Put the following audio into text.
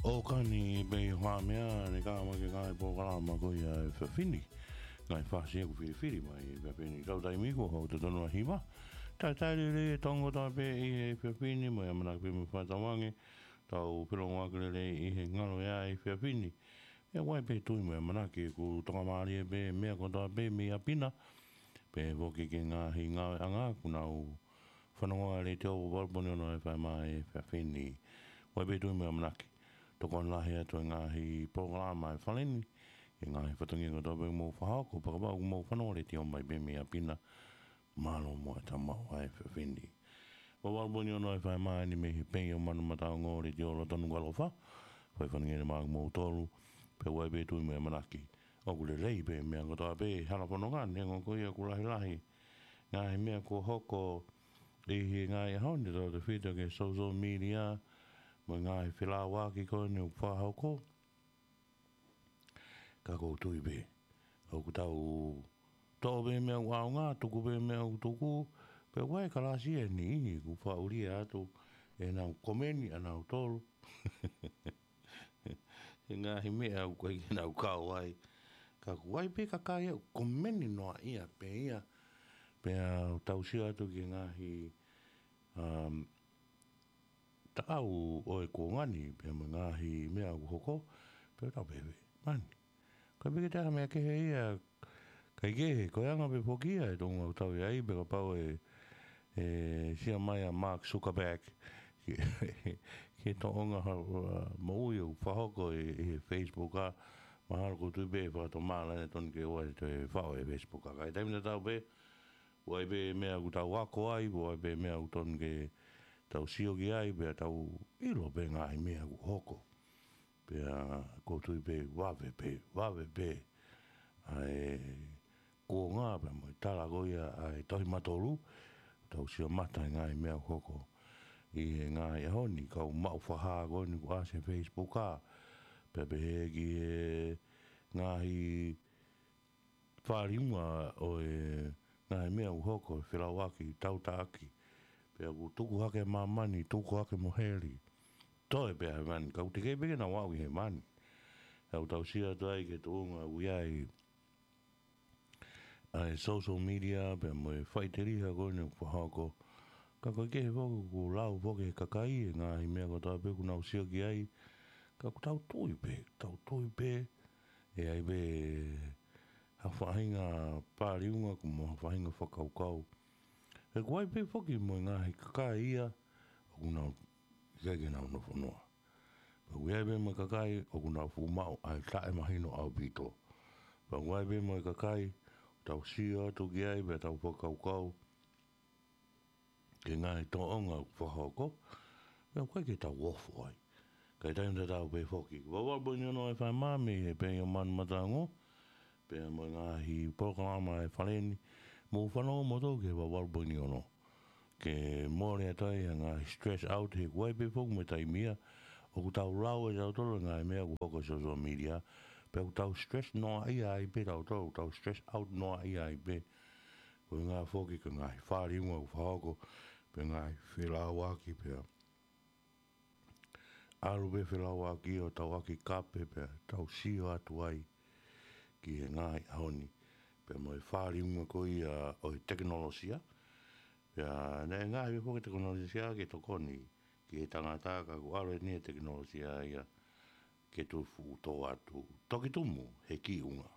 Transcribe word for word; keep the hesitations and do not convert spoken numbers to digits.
ʻOkani pē ʻi Haʻamea, ne kau mai ki he ngaahi polokalama ko ia ʻa e efiafi ni. Ngaahi fasi ʻoku filifili mai ʻa e efiafi ni. Kau taimi ko ē, ʻoku totonu ʻa e hiva. Talitali lelei e tau ongo kotoa pē ʻi he efiafi ni, mo e ʻamanaki pē mo e fakatauange, tau felongoaki lelei ʻi he ngalo ia ʻa e efiafi ni. ʻE ʻoku ʻi ai pē tui mo e ʻamanaki ʻoku tokamālie pē meʻa kotoa pē mei ʻapi na. Pehē foki ki he ngaahi ngāueʻanga ʻoku nau fanongoa ʻa e Letiō Vavalu Poini Ono F M ʻi he efiafi ni. ʻOku ʻi ai pē tui mo e ʻamanaki tokoni lahi atu ʻa e ngaahi polokalama ʻa e Fale ni ki he ngaahi fatongia kotoa pē ʻoku mou fakahoko, pea kapau ʻoku mou fanongoa Letiō mai pē mei ʻapi na, mālō muʻa e tau maʻu ʻa e efiafi ni. Vavalu Poini Ono F M ʻeni mei he Peio Manu Mataongo, Letiō Lotonu Kalofa. Fai faingamālie maʻa kimoutolu, pea ʻoku ʻi ai pē tui mo e ʻamanaki ʻoku lelei pē meʻa kotoa pē ʻi he hala fononga, neongo ko ia ʻoku lahilahi ngaahi meʻa kuo hoko ʻi he ngaahi ʻaho ni, tautautefito ki he social media, mo e ngaahi felāuaki ko eni ʻoku fakahoko. Ka ʻoku ou tui pē ʻoku tau toʻo pē meʻa ʻoku ʻaonga, tuku pē meʻa ʻoku tuku, pea ʻoku ʻi ai e kalasi ʻe niʻihi ʻoku faʻa ulia atu ʻenau komeni ʻanautolu he ngaahi meʻa ʻoku ʻikai ke nau kau ai. Ka ʻoku ʻi ai pē kakai ʻoku komeni noaʻia pē ia, pea tau sio atu ki he ngaahi, um, taʻau ʻo e kuonga ni, pea mo e ngaahi meʻa ʻoku hoko, pea tau pehē, mani, ʻikai pē ke toe ʻi ai ha meʻa kehe ia, ʻikai ke, ko e anga pē foki ia e tuʻunga ʻoku tau ʻi ai, pea kapau ʻe, ʻe sio mai ʻa Mark Zuckerberg ki he, ki he tōʻonga ha, ha moʻui ʻoku fakahoko ʻi, ʻi he Facebook, ʻa, mahalo ʻoku ou tui pē ʻe fakatomala ʻene tonu ke ʻoua ʻe toe faʻo e Facebook, ʻa. Ka ʻi he taimi tatau pē, ʻoku ʻi ai pē meʻa ʻoku tau ako ai, ʻoku ʻi ai pē meʻa ʻoku tonu ke tau sio ki ai, pea tau ʻilo pē ngaahi meʻa ʻoku hoko. Pea ʻoku ou tui pē vave pē, vave pē ʻa e kuonga pea mo e tala ko ia ʻa e Tohi Matolu, tau sio mata he ngaahi meʻa ʻoku hoko ʻi he ngaahi ʻaho ni, kau maʻu fakahā ko eni ʻoku ʻasi he Facebook, ʻa, pea pehē ki he ngaahi fāliunga ʻo e ngaahi meʻa ʻoku hoko, felāuaki, tautaʻaki. Pea ʻoku tuku hake māmani, tuku hake mo heli. Toe pē ʻa hēvani, ka ʻoku teʻeki pē ke nau aʻu ki hēvani. ʻOku tau sio atu ai ki he tuʻunga ʻoku ʻi ai ʻa e social media, pea mo e faʻiteliha ko eni ʻoku fakahoko. Ka ʻoku ʻikai ke foki ʻoku lau foki he kakai e ngaahi meʻa kotoa pē ʻoku nau sio ki ai. Ka ʻoku tau tui pē, tau tui pē ʻe ʻi ai pē ha faʻahinga fāliunga mo ha faʻahinga fakakaukau. He ʻoku ʻi ai pē foki mo e ngaahi kakai ia ʻoku nau ʻikai ke nau nofo noa. Pea ʻoku ʻi ai pē mo e kakai ʻoku nau fuʻu maʻu ʻa e taʻemahino ʻaupito. Pea ʻoku ʻi ai pē mo e kakai ʻoku tau sio atu ki ai pea tau fakakaukau ki he ngaahi tōʻonga ʻoku fakahoko, pea ʻoku ʻikai ke tau ofo ai. Ka ʻi he taimi tatau pē foki, Vavalu Poini Ono F M mei he Peio Manu Mataongo, pea mo e ngaahi polokalama ʻa e Fale ni, mou fanongo moutolu ki he Vavalu Poini Ono. Ke mole atu ai ʻa e ngaahi stress out, he ʻoku ʻi ai pē foki mo e taimi ia ʻoku tau lau ʻe tautolu e ngaahi meʻa ʻoku hoko he social media, pea ʻoku tau stress noaʻia ai pē tautolu, tau stress out noaʻia ai pē. Ko e ʻuhinga foki ki he ngaahi fāliunga ʻoku fakahoko, pea ngaahi felāuaki pea ʻalu pē felāuaki ʻo tau ʻaki kape pea tau sio atu ai ki he ngaahi ʻaho ni. Pea mo e fāliunga ko ia ʻo e tekinolosia. Pea naʻe ngaahi pē foki e tekinolosia ke tokoni ki he tangata, ka kuo ʻalu eni e tekinolosia ia ke tufuʻu tō atu. Toki tumu he kiʻi ʻunga.